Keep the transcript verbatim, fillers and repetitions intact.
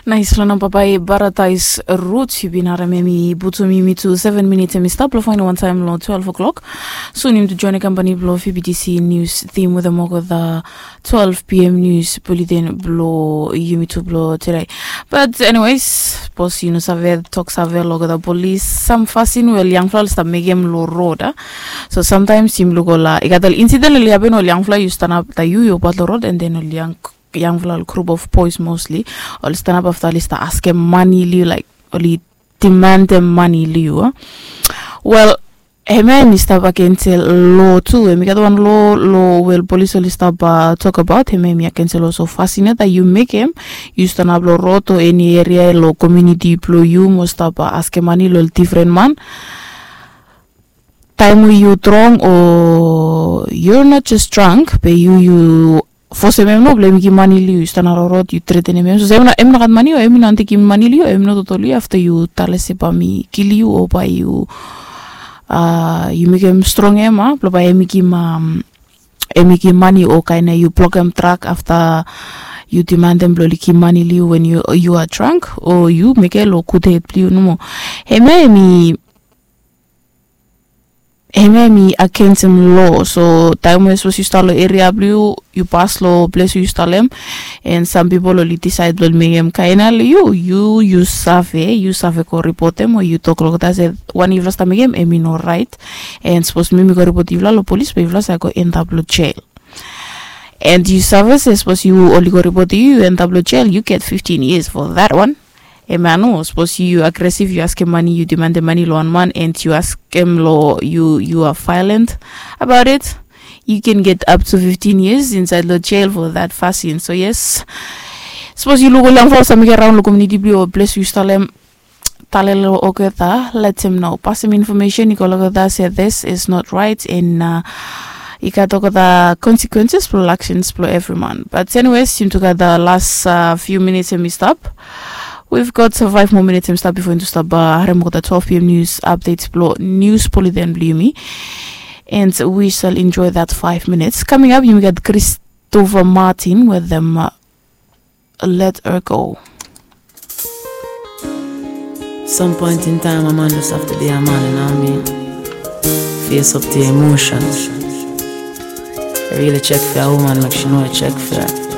Nais long namba bai Paradise Roots, yu bin harim em i putum yumi tu seven minits em i stap long fain wantaim long twelve o'clock. Sun yumi tu join company bilong F B T C News Team wetem olgeta twelve p.m. news bulletin bilong yumi tu bilong today. But anyways, bos yu no save tok save long olgeta polis sam fasin we ol yangfala ol stap mekim long rod a. So sometimes yumi luk ol i gat ol incident ol i hapen ol yangfala yu stanap ta yu yu bat long rod and then ol yang yangfala ol group of boys mostly ol stanap afta ol i sta askim mani liu laik ol i demandem mani liu a. Wel, hemia em i stap agensel lo tu em i gat wan lo lo wel polis ol i stap tokabaot hemia em i agensel olso fasin ya ta yu mekem yu stanap lo rot o eni eria lo komuniti blo yu mo stap askim mani lo ol difren man. Taim we yu drong o you're not just drunk be yu yu fosem em no blo em i givim mani liu yu stap na rorot yu tretenem em so em no gat mani o em i no anti givim mani liu em no totoli afta yu tale se bae mi kili yu o bae yu a yu mekem strong em a blo bae em i givim em i givim mani o kain na yu blokem trak afta yu demandem blo oli givim mani liu wen yu a drunk o yu mekem lo gud hed blo yu nomo. Hemia em i hemia em i agensem lo so taim we sapos yu stap long eria blong yu yu pas long ples we yu stap long em. En sam pipol oli disaed blong oli mekem kaina long yu yu yu save yu save go ripotem o yu tok long olgeta se wanem yufala stap mekem em i no rait. En sapos mi mi go ripot yufala long polis be yufala save go endap long jel. En yu save se sapos yu oli go ripotem yu yu endap long jel yu get fiftin years for that one. Em ya no sapos yu agresiv yu askim mani yu demandem mani long wan man en yu askim long yu yu a violent about it. You can get up to fifteen years inside long jail for that fasin so yes. Sapos yu luk ol yangfala olsem i gat raun long komuniti blong yu o ples yu stap long em, tale long olgeta letem no pasim infomesen i go long olgeta se this is not right and i gat olgeta consequences blong actions blong evri man. But anyways yumi tu gat the last few minutes em i stap. We've got five more minutes em stap before yumi tu stap harim olgeta twelve p.m. news updates blong news bulletin blong yumi. And we shall enjoy that five minutes coming up. Yumi gat Christopher Martin with them. Let her go. Some point in time a man just have to be a man, you know what I mean? Face up to your emotions. Really check for a woman, make she know you check for her.